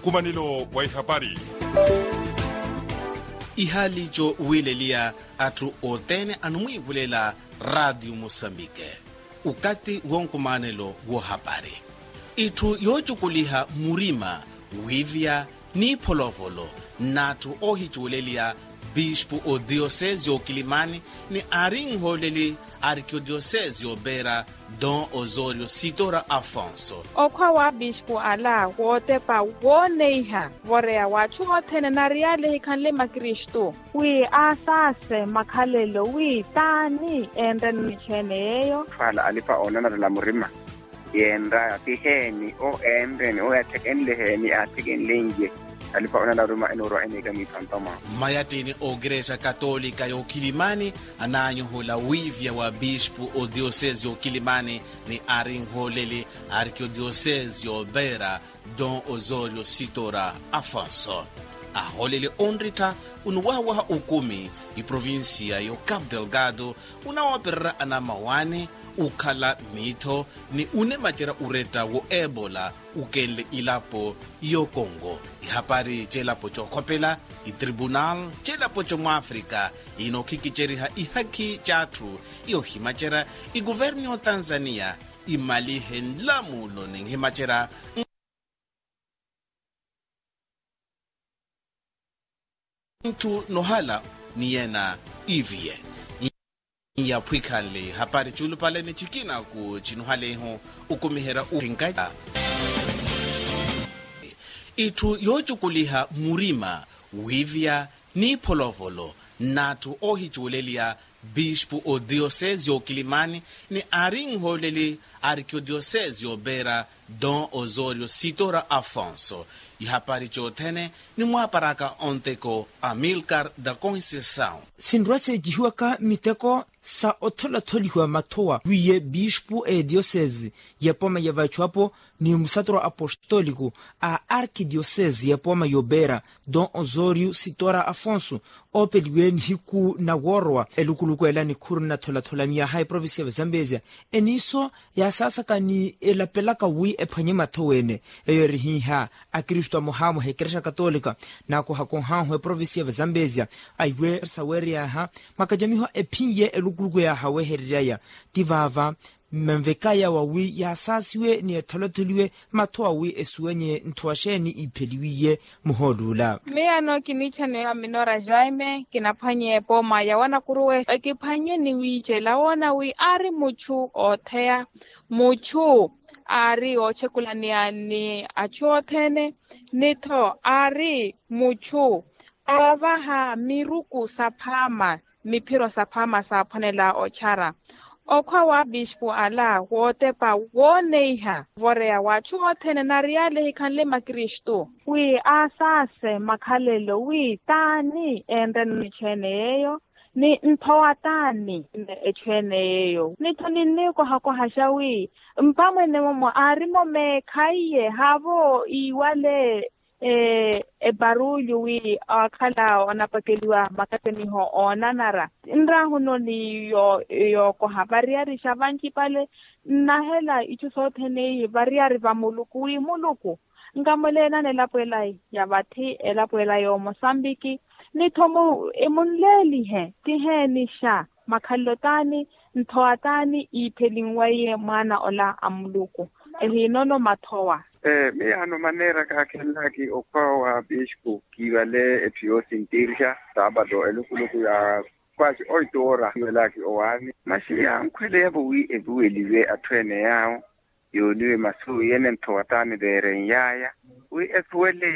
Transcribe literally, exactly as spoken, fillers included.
Nkumanelo wa ihapari. Ihaali co wiileliya atthu othene anumwiivulela raatiyo musambike okathi wonkumanelo woohapari. Itthu yoocukuliha murima wiivya n'ipholovolo n'atthu oohicuweleliya bispu odiyosesi y'okilimani ni aari nhooleli arkiodiyosesi y'opeera don osorio sitora afonso. Okhwa wa bispu ala wootepa wooneiha voreya w'atthu othene nari yale ehikhanle makristu. Wi aasaase makhalelo wi t'ani enreni echweene yeeyo. Ala alipa oonanarela murima yeenraya ti heeni o eenreni o yaathekenle heeni aathekenle nje. Alipa oonanarela murima enoorwa eneeka miitho a ntoma. Mmayattini ookirexa katolika y'okilimani anaanyohola wiivya wa bispu odiyosesi y'okilimani ni aari nhooleli arkiodiyosesi y'opeera don osorio sitora afonso. Ahoolele onrittha onuwahawaha okumi iprovinsiya y'ocapu delgado onawoopererya anamawani okhala miitho ni onemacerya oretta wo ebola okenle ilapo y'okongo. Ihapari c'elapo c'okhopela itribunal c'elapo c'omwaafrika inokhikiceriha ihakhi c'atthu yoohimacerya ikuvernu y'otanzaniya imalihe nlamulo ninhimacerya ntthu nohala ni yena iviye nyaphwikhanle hapari ciulupale ni cikinaku cinuhalehu okumiherya utinkaca itthu yoocukuliha murima wiivya n'ipholovolo n'atthu oohicuweleliya bispu odiyosesi y'okilimani ni aari nhooleli arkiodiyosesi y'opeera don osorio sitora afonso. Ihapari c'othene nimwaaparaka onteko amilcar da conceição. Sinrwa seecihiwaka miteko sa otholatholihiwa mathowa wiiye bispu ediyosesi y'epooma ya vachuapo ni musatoro apostoliku a arkidiyosesi y'epooma y'opeera don osorio sitora afonso oopeliwe nihiku na woorowa elukuluku ela nikhuru nnatholatholameyaha eprovinsi ya vazambezia eniiso yaasaasaka ni elapelaka wi ephwanye mathowa ene eyo erihiiha akristu amohamoha ekerexa katolika naakohakohahu eprovinsi ya vazambezia aiwe saweeryaha makacamiho ephinye elukuluku yaahawehereryaya ti vaava mmenvekaya wawi yaasaasiwe ni etholotholiwe mathowa wi esuwenye nthowa xeeni iipheliwiye muhooluula. Miyano kiniichaniwa minora jaime kinaphwanye epooma ya wanakuruwe ekiphwanye ni wiicela woona wi aari muchu ootheya muchu aari oochekulaneya ni achu othene ni-tho aari muchu aavaha miruku saphaama miphiro saphaama saaphwanela ochara. Okhwa wa bispu ala wootepa wooneiha voreya w'achu othene nari yale ehikhanle makristu wi aasaase makhalelo wi t'ani enreni echweene yeeyo ni nthowa t'ani echweene yeeyo ni-tho ninniikohakohaxa wi mpamwene momo aari-mo meekha iye haavo iiwale eparuulyu wi aakhala onapakeliwa makatemiho oonanara nraahuno ni yookoha variyarixa vancipale nnahela icu sothene ii variyari va muluku wi muluku nkamuleenani elapo ela ya vathi elapo ela y'omosambiki ni-tho munleelihe ti heenixa makhalelo t'ani nthowa t'ani iiphelinweiye mwaana ola a muluku ehiinono mathowa. Miyaano maneera kaakhenlaaki okhwa wa bispu kiivale etthu yoosintirxa saapato elukuluku ya kwaci oituwora kiivelaki owaani masi yankhweleyavo wi evuweliwe atthu ene yaawo yooniwe masu yene nthowa t'ani veerenyaaya wi esuwele